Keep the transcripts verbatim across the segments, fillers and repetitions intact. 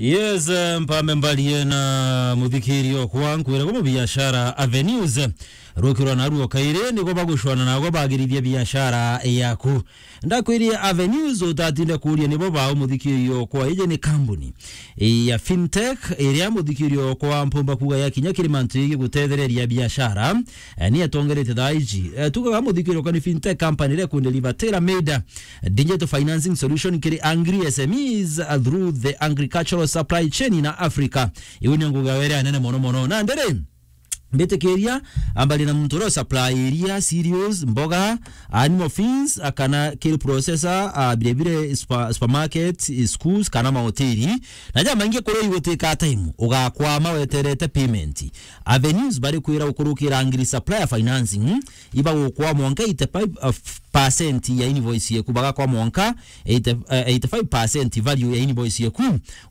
Yes, eh, mpambe mbarie na muthikiri okwa nkwire kwa biashara Avenues. Rukirwa naruo kairi nigo bagucwana nago bagirithia biashara yaku. Ndakwirie Avenues utatinde kuria nibo bao muthikiri okwa. Iji ni kambuni ya fintech iria muthikiri okwa mpumba kuga ya kinya kiri mantu igi gutethereria biashara. Eh, ni atongerete thaa iji. Eh, tugaga muthikiri okwa ni fintech company iria kundeliver tailor made digital financing solution kiri agri S M Es, uh, through the agricultural supply chain in Africa. Iu ni nguga were anene mono mono. Na ndiri, mbitikiria, ambali na muntu uria supply iria cereals, mboga, animal feeds, uh, kana kiri processor, uh, bire bire spa-, supermarket, schools, kana mahoteli. Na ja maingi kuri igutika time, ugakwama weterete payment. Avenues bari kwira ukurukira agri supplier financing, ibagukwa mwanka eighty-five percent ya invoice yeku, bagakwa mwanka eighty, eh, eighty-five percent value ya invoice yeku,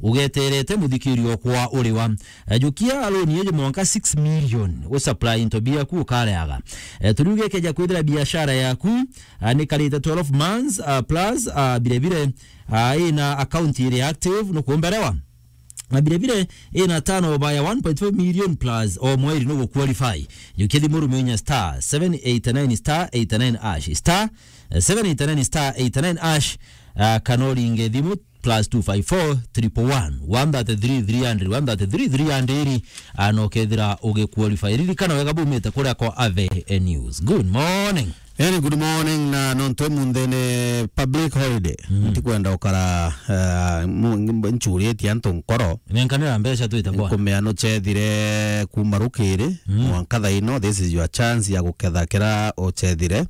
ugeterete muthikiri okwa uriwa. Eh, jukia loan yeje mwanka six million, u supply into biaku ukareaga. Eh, turiuge keja kwithira biashara yaku, ah, ni karite twelve months, ah, plus, ah, bire bire, ah, ina account iri active, nukumberewa. Na bire bire ina turnover ya one point five million plus o mweri no guqualify. Jukia thimu rume inya star seven eight nine star eight nine hash, star seven eight nine star eight nine hash, ah, kana uringe thimu plus two five four triple one, one thirty-three three hundred, one thirty-three three hundred, ah, na ukethira ugiqualify. Ririkana wega bumite kuria kwa Ave News. Good morning. Any good morning, na nontu emunthi ni public holiday. Mm. Ntikwenda ukara, eh, mu-, nchuritie antu nkoro. Nenkanira mbeca twite bwana. Nkumea nuchethire kuma rukiri, mm, mwanka thaino, this is your chance ya guketha kira uchethire.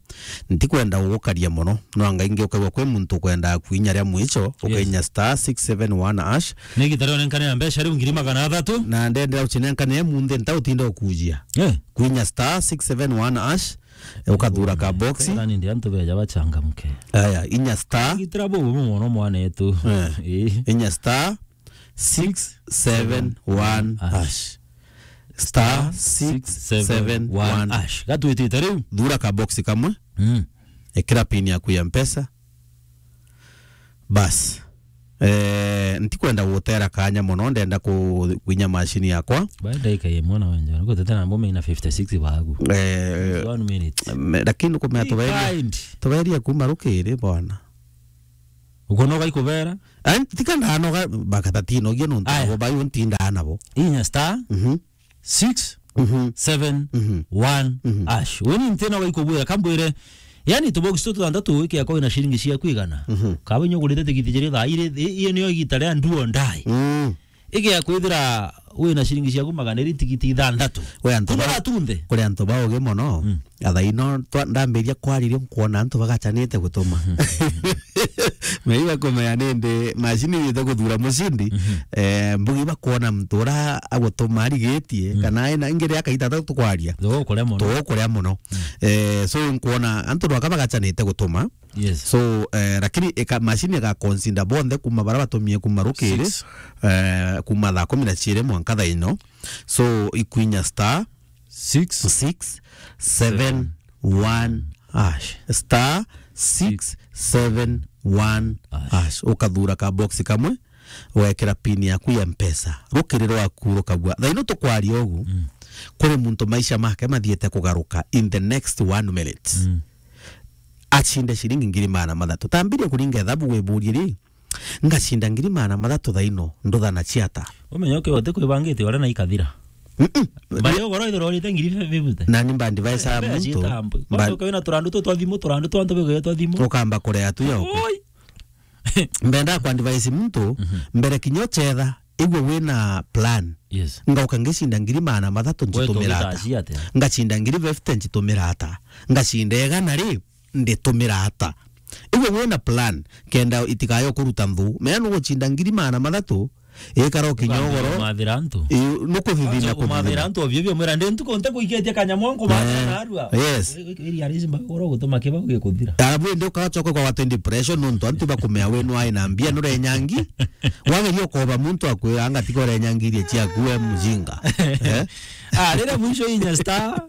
Ntikwenda ugukaria mono. No anga ingi ukagwa kwi muntu ukwenda kuinya ria mwicho, yes, ukainya star six seven one hash. Ni gita rio nenkanira mbeca riu ngiri magana athatu. Na ndendera uchinenkanire emunthi nta utinda ukujia. Eh. Kuinya star six seven one hash. Ukathura ka box. Nani ndi antu beja bachangamke. Aya, inya star. Gitira bubu mono mwanetu. Eh. Eh. Inya star six seven one hash. Star six seven one hash. Gatwitite riu. Thura ka box kamwe. Mm. Ekira pin yaku ya Mpesa. Bas. Eh, ntikwenda gutera kanya mono, ndenda ku-, kwinya mashini yakwa. Baada ika ye mwana wenje, niko tete na mbome ina fifty-six bagu. Eh, one minute. Me-, lakini kumea tuberia, tuberia kuma rukiri bwana. Ukonoga ikubera? Ai, tika ndanoga, bakatatinogia nontu abo bayo ntinda nabo. Inya star. Mhm. Six seven one hash. Weni ntena wa ikubwira, kambwire, yani, tubox tu tutantatu wiki yako ina shilingi cia kwigana. Mhm. Kaba nyo gurite tigiti jiri thaa iri, i-, iyo niyo igita ria do or die. Mm. Ige ya kwithira wina shilingi ciaku magana iri tigiti ithanthatu. We antu ba-, tunthe. Kuri antu baugi mono. Mm. Athaino twa-, ndambiria kwariria nkwona antu bagachanite gutuma. Meiga kumenya nindi mashini yite guthura mucindi, mhm, eh, mbugi bakwona muntu ura agutuma arigitie, mm, kana ena ingi ria kaita ta tukwaria. Tugukuria mono. Tugukuria mono. Mm. Eh, so nkwona antu rwaka bagachanite gutuma. Yes. So, eh, lakini ika-, mashini ika consider bonthe kuma bara batumie kuma rukiri, six, eh, kuma thaa kumi na ciiri mwanka thaa ino. So, ikwinya star six seven one hash. Star six seven one hash. Ukathura ka box kamwe, wekira pin yaku ya Mpesa. Rukiri rwaku rukagua. Thaa ino tukwaria ugu, mm, kuri muntu maisha make mathiete kugaruka in the next one minute. Mm. Achinde ciringi ngiri magana mathatu. Tambiria kuringa ethabu wiburie ri, ngacinda ngiri magana mathatu thaa ino, nduthana ciata? Umenye ukiwa uti kwibangite uria na ikathira. Mm-mm. Mbari ugoro ithiro urite ngiri fifty. Nani mba advise a muntu? Mba- Kwanza ukiwina turandu tu twa thimu, turandu twa antu bigwire twa thimu. Ukamba kurea tu yoko. Oi! Mbenda ku advise muntu, mhm, mbere kinya uchetha, igwe wina plan. Yes. Ngauka ngicinda ngiri magana mathatu. Wetu nchitumira ata? Ugitacia atia? Ngacinda ngiri fifty nchitumira ata? Ngacinda igana ri, nditumira ata? Igwe wina plan, kenda itikayo kuruta nthu. Mea nugucinda ngiri magana mathatu, ikara ukinya ugoro. Umathira antu. Ii, nukuthithina. Kwanza kumathira antu ovyo ovyo, mwira ndi ntuku nte kuiketie kanyamu anku mathira narua. Yes. Iri arisi mbagoro gutuma kibau gikuthira. Arabu ndi ukachoka kwa watu depression nontu antu bakumea we nwae na mbia nurenyangi. Wageria ukoba muntu akwira anga tiga urenyangirie ciaku we mujinga. Eh? Ah, rire mwisho inya star.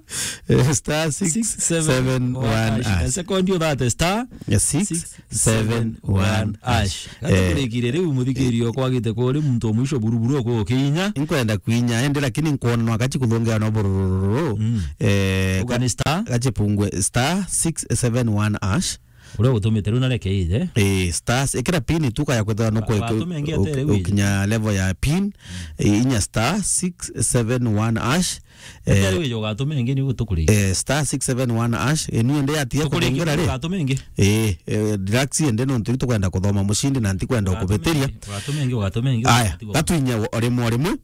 Eh, star six seven one hash. Sekondi uthate star six seven one hash. Gatukurikire riu muthikiri okwa gite kuri muntu o mwisho buruburu okukinya. Nkwenda kwinya, ende lakini nkwona no akachi kuthongea no burururu. Mm. Eh, uga ni star? Gachi pungwe star six seven one hash. Uria utumite riu narekeire. Eh, stars, ikira pin tu kaya kwithira no kwe-, ukinya level ya pin, eh, inya star six seven one hash. Eh, ugatuma ingi ni gutukuri. Eh, star six seven one hash, eh, ni ende atia kuthongera ri? Ugatuma ingi. Eh, eh, relax ende nontu tukwenda kuthoma mushindi na ntikwenda ukubitiria. Ugatuma ingi, ugatuma ingi. Aya, gatuinya o rimwe o rimwe.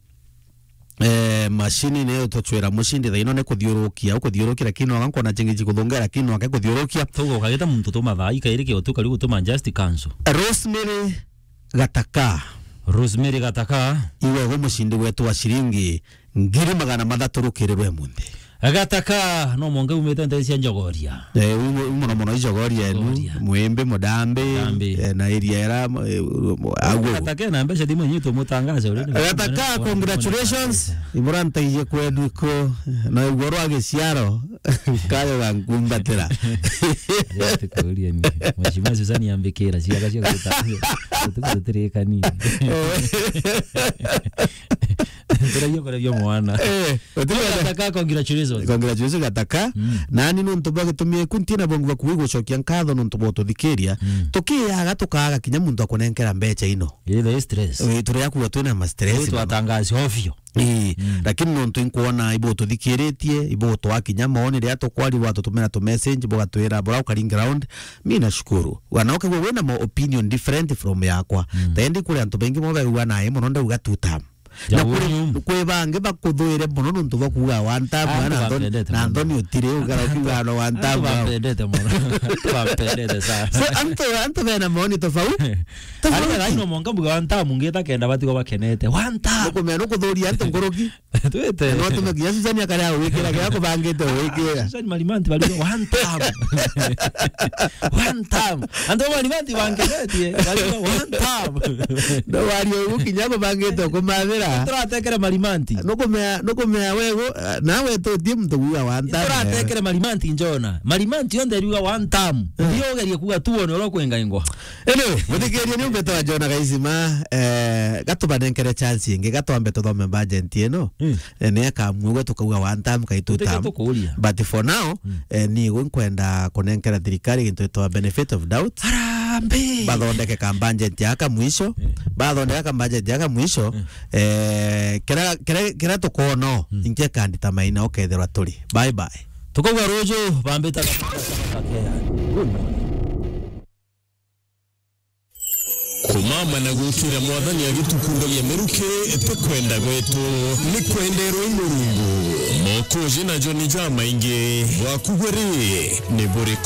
Eh, mashini niyo tuchwira mushindi thaino ni kuthiurukia, ukuthiurukia, lakini no nkona chingi chikuthongera, lakini no akikuthiurukia. Tugo ukagita muntu tuma thaa ikairi kio tu kariu gutuma just cancel. Rosemary Gataka. Rosemary Gataka. Iwe go mushindi wetu wa shilingi ngiri magana mathatu rukirirwe munthi. Gataka, no mwanka umite nte cia Njogoria. Eh, u-, u-, muno muno Njogoria enu, Njogoria. Mwimbi, Mudambi, Mudambi. Eh, na area era, eh, aguo. Gataka na mbeca thimu nyitu mutangaze uri ni Gataka, congratulations. Imurantaiye kwenu iko, na igoro agiciaro, kayo gankumbatira. Ati kuria ni. Mheshimiwa Susan yambikira, ciaga cia guta-, gutu-, gututirikani. Turagia kuria mwana. Eh, Gataka, congratulations. Congratulations, Gataka. Mm. Nani nontu bwa gitumi ku ntina bongu bwa kuwi gucokia nkatho nontu bwa ututhikiria. Mm. Tukiaga tukaga kinya muntu akunenkera mbeca ino. Ile stress. Eh, turia kuwa twina ma stress. Twatangazi ovyo. Ii, mm, lakini nontu inkwona ibo tuthikiritie, ibo twakinya maoni ria tukwari, watutumira tu message, bugatwira bura ukari ground. Mi nashukuru. Wana ukigwa wina ma opinion different from yakwa. Mm. Tendi kuri antu baingi mo bagua nae muno ndauga two term. Na kuri, kwi bangi bakuthuire muno nontu bwa kuuga one term, antu na Anthony, bapendete na muno. Anthony utiri ugara ukiuga no one term. Antu bapendete muno. Antu bapendete sana. So, antu, antu bena maoni tofauti. Tofauti. Ari no monka mbuga one term ngita kenda batigwa bakenete. One term. Nukumea nukuthuria antu nkuruki. Twite. No tume kinya Susan akaria wikira kiria kubangite wikira. Susan Marimanti bari one term. One term. Antu Marimanti bangenetie, bari one term. No wari ugu kinya kubangite kumathira. Turatekere Marimanti. Nukumea, nukumea wego, nawe tutie muntu kuuga one term. Turatekere Marimanti njona. Marimanti yonthe riuga one term. Eh. Ndio ugerie kuuga tu one oro kwengaingwa. Anyway, muthikiria ni umbete wa Jona Gaisima, eh, gatubanenkere chance ingi, gatwambe tuthome budget ino. Mm. Eh, ni akamwe gwe tukauga one term, kai two term. Tukuria. But for now, mm, eh, ni gwe nkwenda kunenkera thirikari gintu gitwa benefit of doubt. Harambee! Bathondeke ka budget yaka mwisho. Mm. Bathondeka ka budget yaka mwisho. Mm. Eh, kira, kira, kira tukono, mm, inke kandita maina ukethirwa turi. Bye bye. Tukauga ruju, bambita. Good morning. Kumama na gukira Mwathani agitukundagia miruki ti kwenda gwetu, ni kwenderwa i Murungu. Mokuji najo ni jamaingi, bwaku gwe ri, ni buriku?